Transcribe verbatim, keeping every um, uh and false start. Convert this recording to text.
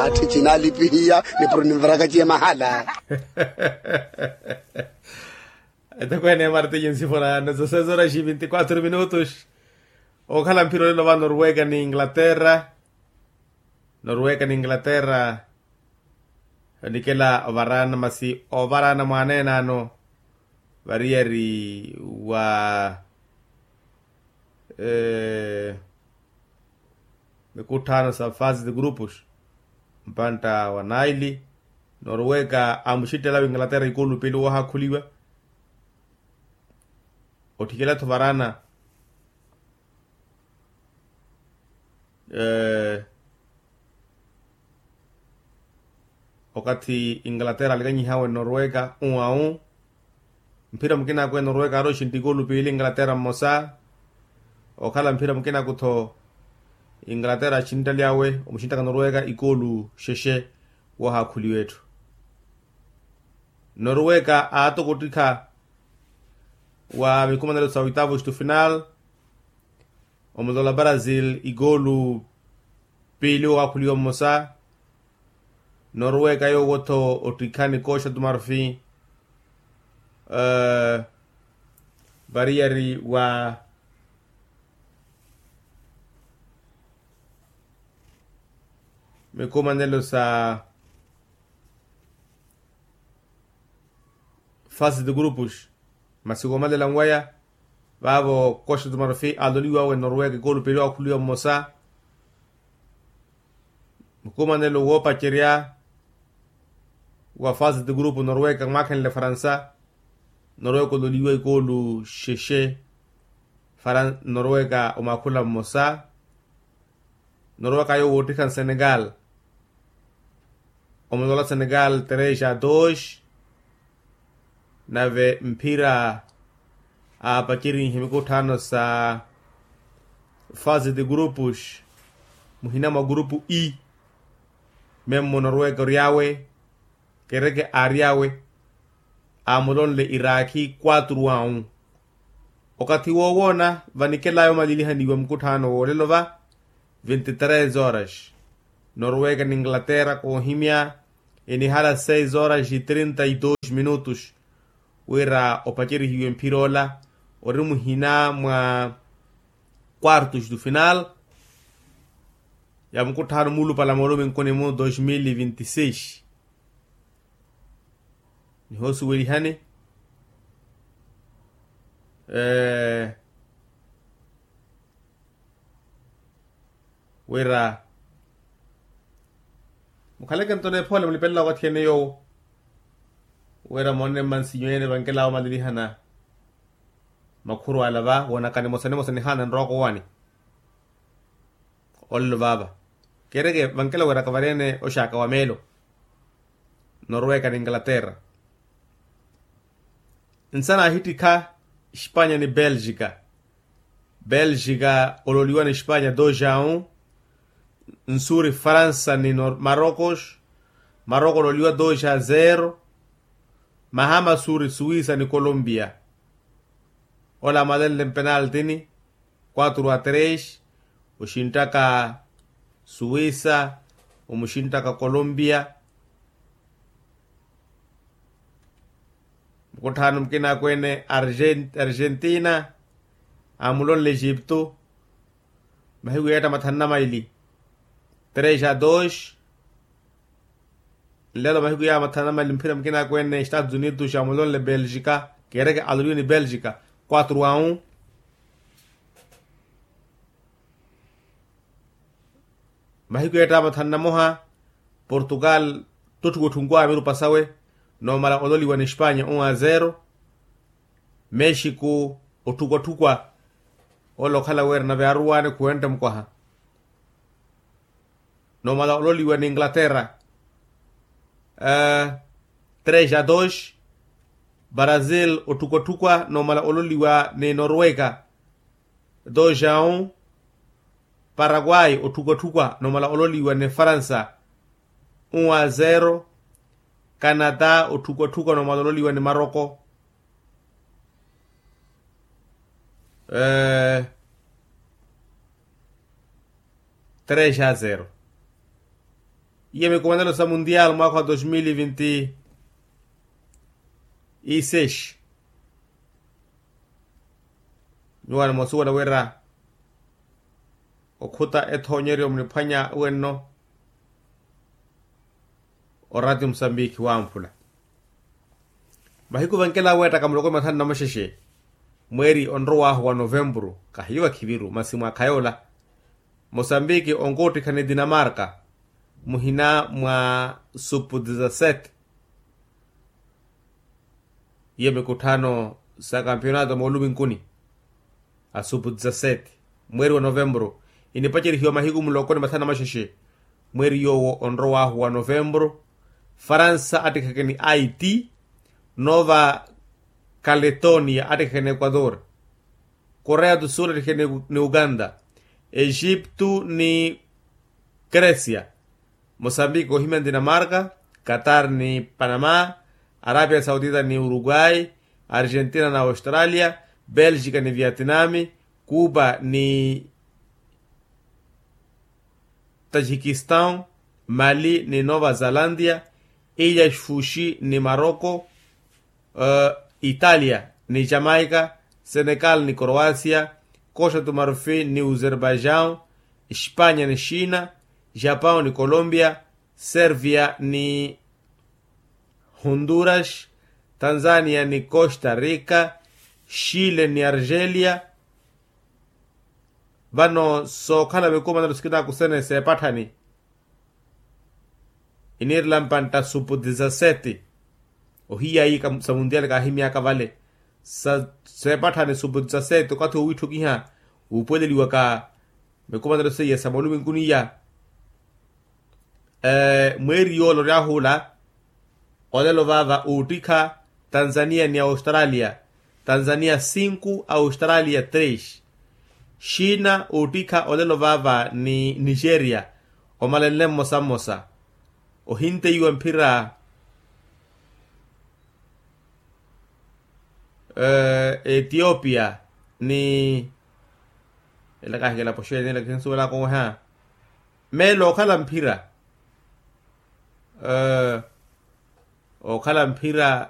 Atthi cinaalipihiya nipuro ninvarakaciye mahala. Etokweene ya martiyo nsifura na dezasseis horas e vinte e quatro minutos. Okhala mphira olelo va norwega ni inglaterra. Norwega ni inglaterra. Onikela ovarana masi ovarana mwaneene ano variyari wa mikutthano sa fase de grupos. Mpantta wa naili norwega amuxittela wa inglaterra ikulu piili woohakhuliwa. Otthikela-tho varana okathi inglaterra alikanyihawe norwega uwau. Mphira mukina akwe norwega aari oxintta ikoolu piili inglaterra mmosa. Okhala mphira mukina aku-tho inglaterra axinttaly'awe omuxinttaka norwega ikoolu xexe. Woohakhuliwa etthu norwega aatoko ottikha wa mikumanelo sa oitavos tu final. Omulola brazil ikoolu piili owaakhuliwa mmosa. Norwega yoowo-tho ottikhani koxa tu marfi variyari wa mikumanelo sa fase de grupos. Masi woomalela nwaya vaavo koxa tu marfi aloliwawe norwega ikoolu piili owaakhuliwa mmosa. Mukumanelo woopacerya wa fase de grupo norwega mwaakhenle faransa. Norwega ololiwa ikoolu xexe. Norwega omwaakhula mmosa. Norwega yoowo woottikha nsenegal. Omulola senegal tres a dos. Nave mphira aapacerinhe mikutthaano sa fase de grupos muhina mwa grupo e. Memmo norwega ory'awe kereke aary'awe aamulonle iraakhi quatro a um. Okathi woowoona vanikelaaya omalilihaniwa mukutthaano woolelo va vinti tres horas. Norwega ni inglaterra koohimya enihala seis horas e trinta e dos minutos. Wira opacerihiwe mphir'ola ori muhina mwa quartos tu final ya mukutthaano muulupala mooluminkuni mu dos mil e vinti seis. Nihoosuwelihani wira mukhaleke nto neephoole mulipelela wakathi ene yoowo. Wira moonne mmansinyu ene vankelaawo omalilihana makhuru ala va woonakani mosa ni mosa nihaana nrooko wani. Olelo vaava kereke vankela wiraka vareene oxaaka wa meelo norwega ni inglaterra. Nsa naahittikha espanya ni belgica. Belgica ololiwa ni espanya dos a um. Nsuuri faransa ni marocos. Marocos ololiwa dos a zero. Mahama suuri suwisa ni colombia. Ola amalenle mpenaltini quatro a tres. Oxinttaka suwisa omuxinttaka colombia. Mukutthaano mukina akweene argentina aamulonle egipto. Mahiku yeetta mathanu na maili tres a dos. Nlelo mahiku yaawa mathanu na maili mphira mukina akweene estados unidos aamulonle belgica. Kereke aloliwe ni belgica quatro a um. Mahiku yeetta mathanu na moha portugal totthukwatthunkwaya mirupa sawe noomala ololiwa ni espanya um a zero. Mexico otthukwatthukwa ola okhala wira nave aruwaane khuwenta mukwaha. Noomala ololiwa ni inglaterra tres a dos. Brazil otthukwatthukwa noomala ololiwa ni norwega dos a um. Paraguay otthukwatthukwa noomala ololiwa ni faransa um a zero. Canada otthukwatthukwa noomala ololiwa ni maroko tres a zero. Iye mikumanelo sa mundial mwaakha wa dos mil vinti iseis. Nyuwaani moosuwela wira okhuta ethoonyeryo muniphwanya wenno. Orati musambiki wamphula mahiku vankela weettaka muloko ni mathanu na maxexe. Mweeri onrowaahu wa novempuru kahiyo kakhiviru masi mwaakha yoola. Mosambiki onkoottikha ni dinamarka muhina mwa supu dizasete. Iyo mikutthano sa kampionato mooluminkuni a supu dizasete mweeri wa novempuru. Inipacerihiwa mahiku muloko ni mathanu na maxexe mweeri yoowo onrowaahu wa novempuru. Faransa attikheke ni aiti. Nova kaletonia attikheke ni ekuator. Korea do sul attikheke ni uganda. Egiptu ni kresia. Mosambiki ohimya ni dinamarka. Katar ni panama. Arabia saudita ni uruguay. Argentina na australia. Belgika ni vietnami. Kuba ni tajikistan. Mali ni nova zelandia. Ilya sfuxi ni maroko. Italia ni jamaica. Senegal ni croasia. Costa do marfil ni uzerbaijao. Espanya ni xina. Japao ni colombia. Servia ni honduras. Tanzania ni costa rica. Xile ni argelia. Vano sookhala vikumanelo sikina akusene seepatthani. Iniirela mpantta supu dizasete. Ohiyayi sa mundial kaahimyaka vale. Sa seepatthani supu dizasete okathi owiitthukiha wuupuweleliwaka mikumanelo seiya sa moluminkuni iya. Mweeri yoola oryahula. Olelo vaava uuttikha tanzania ni australia. Tanzania sinku australia tres. Xina uuttikha olelo vaava ni nigeria. Omalenle mmosa mmosa. Ohinteiwa mphira etiopia ni ela kahikela poxeeni ela kihinsuwelaka oweha. Meelo okhala mphira okhala mphira.